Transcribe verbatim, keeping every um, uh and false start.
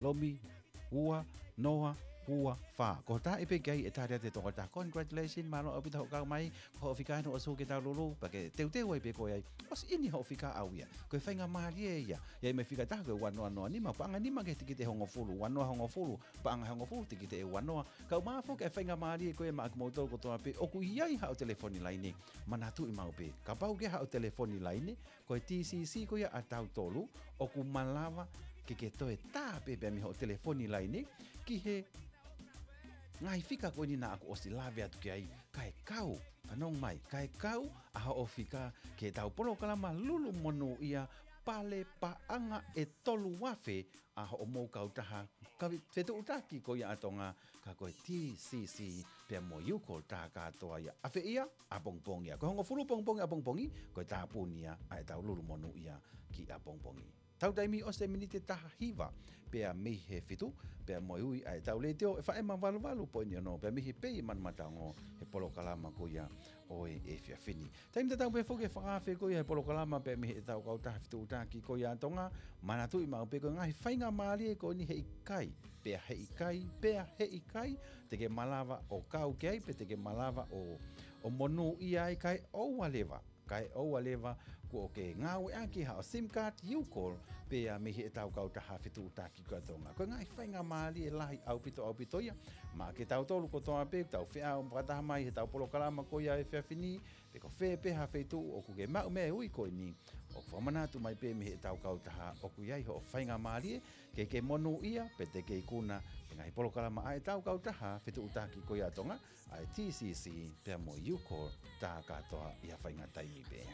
Lomi, ua, noa, ua, fā. Ko e taha pē ki ai ʻe tali atu e tokotaha. Congratulations, mālō ʻaupito hoʻo kau mai, ko hoʻo fika ʻe ʻosi ke tau lulu, pea ke teuteu ai pē koe ai. ʻOsi ʻi ai hoʻo fika ʻaʻau ia. Ko e faingamālie ia. ʻI ai mo e fika ʻe taha ko e ua noa noa nima, paʻanga ʻe nima ki he tikite ʻe hongofulu, ua noa hongofulu, paʻanga ʻe hongofulu, tikite ʻe ua noa. Kau mai foki e faingamālie ko ia maʻa kimoutolu kotoa pē, ʻoku ʻi ai haʻo telefoni laine, manatuʻi maʻu pē. Kapau ʻoku ʻi ai haʻo telefoni laine, ko e T C C ko ia ʻa tautolu, ʻoku malava ke ke toe tā pē pea mei hoʻo telefoni laine, ki he ngaahi fika ko eni naʻa ku ʻosi lave atu ki ai, kae kau, fanongo mai, kae kau ʻa hoʻo fika ki heʻetau polokalama lulu monūʻia, pale paʻanga ʻe tolu afe ʻa hoʻomou kautaha, ka fetuʻutaki ko ia ʻa Tonga, ka ko e T C C pea mo e Youcall tā kātoa ia. Afeʻi ia, ʻapongipongi ia. Ko e hongofulu pongipongi ʻapongipongi, ko e tāpuni ia ʻa ʻetau lulu monūʻia ki ʻapongipongi. Tau taimi ʻosi e miniti ʻe taha hiva, pea mei he fitu, pea mo e ui ʻa ʻetau letiō, ʻe fā ema valu valu poini ono, pea mei he pei Manumataongo, he polokalama ko ia ʻo e efiafi ni. Taimi tatau pē foki e fakaafe ko ia he polokalama pea mei heʻetau kautaha fetuʻutaki ko ia ʻa Tonga, manatuʻi maʻu pē ko e ngaahi faingamālie ko eni heʻikai, pea heʻikai, pea heʻikai, te ke malava ʻo kau ki ai, pe te ke malava ʻo, ʻo monūʻia ai kae ʻoua leva. Kae ʻoua leva kuo ke ngāueʻaki haʻo sim card Youcall pea mei heʻetau kautaha fetuʻutaki ko ia ʻa Tonga. Ko e ngaahi faingamālie lahi ʻaupito ʻaupito ia. Maʻa kitautolu kotoa pē, tau feʻao fakataha mai heʻetau polokalama ko ia he efiafi ni, pe ko fē pē ha feituʻu ʻoku ke maʻu mei he ui ko eni, ʻoku fakamanatu mai pē mei heʻetau kautaha ʻoku ʻi ai hoʻo faingamālie, ke ke monūʻia, pe te ke ikuna, he ngaahi polokalama ʻa ʻetau kautaha fetuʻutaki ko ia ʻa Tonga, ʻa e T C C pea mo e Youcall tā kātoa ʻi ha faʻahinga taimi pē.